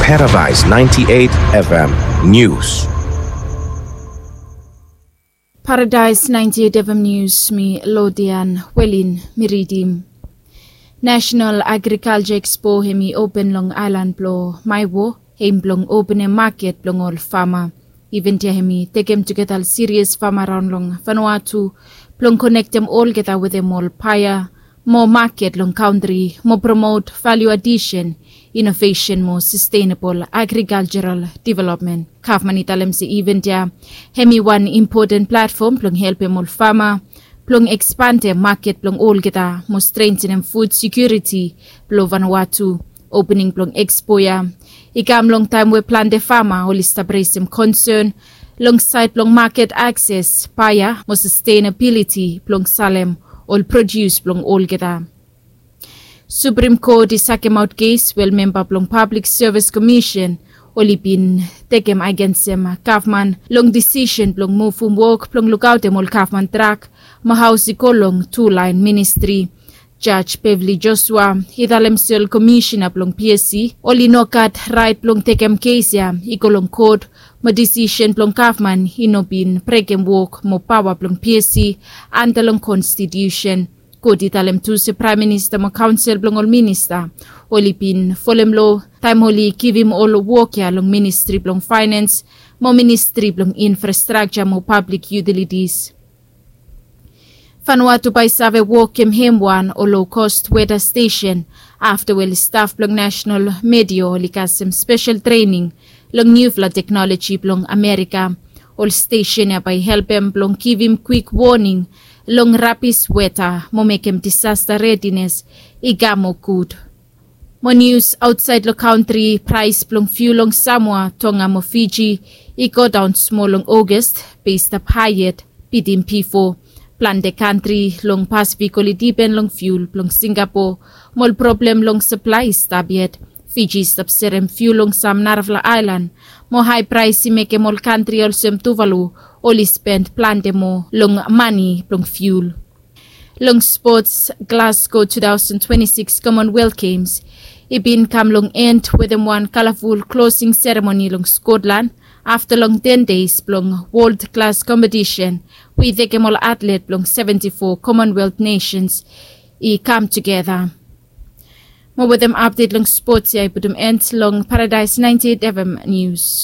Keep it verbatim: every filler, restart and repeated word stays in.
Paradise ninety-eight F M News. Paradise ninety-eight F M News, mi Lodian Welin mi ridim. National Agriculture Expo hemi open long aelan blong Maiwo, hem blong openem maket blong ol fama. Event ya hemi tekem tugeta ol sirias fama raon long Vanuatu blong konektem olgeta wetem ol paea mo maket long kantri mo promot value addition, innovation mo sustainable agricultural development. Gavman i talem se event ya hemi wan impoten platfom blong helpem ol fama blong ekspandem maket blong olgeta mo strentenem fud sekiuriti blong Vanuatu. Opening blong expo ya i kam long taem we plante fama oli stap resem konsen long saed blong maket akses, paea mo sustenabiliti blong salem ol produs blong olgeta. Suprem Kot i sakemaot kes we ol memba blong Pablik Sevis Komisen oli bin tekem agensem gavman long disisen blong muvum wok blong lukaotem ol gavman trak mo haos i go long tu laen ministri. Jaj Beverly Joshua i talem se ol komisena blong P S C oli no gat raet blong tekem kes ya i go long kot, mo disisen blong gavman i no bin brekem wok mo paoa blong P S C anda long konstitiusen. Kot i talem tu se praem minista mo kaonsel blong ol minista oli bin folem loa taem oli givim ol wok ya long ministri blong faenens mo ministri blong infrastrakja mo pablik yutilitis. Vanuatu bae i save wokem hem wan ol low cost weather station afta we ol staf blong National Meteo oli kasem spesel trening long niufala teknoloji blong Amerika. Ol stesen ya bae i helpem blong givim kwik woning long rabis weta mo mekem disasta redines i kam moa gud. Mo nius aotsaed long kantri, praes blong fiul long Samoa, Tonga mo Fiji i godaon smol long August, be i stap hae yet bitim bifo. Plante kantri long Pasifik oli dipen long fiul blong Singapo mo ol problem long saplae i stap yet. Fiji i stap serem fiul long sam narafala aelan mo hae praes i mekem ol kantri olsem Tuvalu oli spend plante moa long mane blong fiul. Long spots, Glasgow two thousand twenty-six Commonwealth Games i bin kam long en wetem wan kalaful klosing seremoni long Scotland afta long ten days blong wol klas kompetisen we i tekem ol atlet blong seventy-four Commonwealth nations i kam tugeta. Mo wetem apdet long spots ya i putum en long Paradise ninety-eight F M News.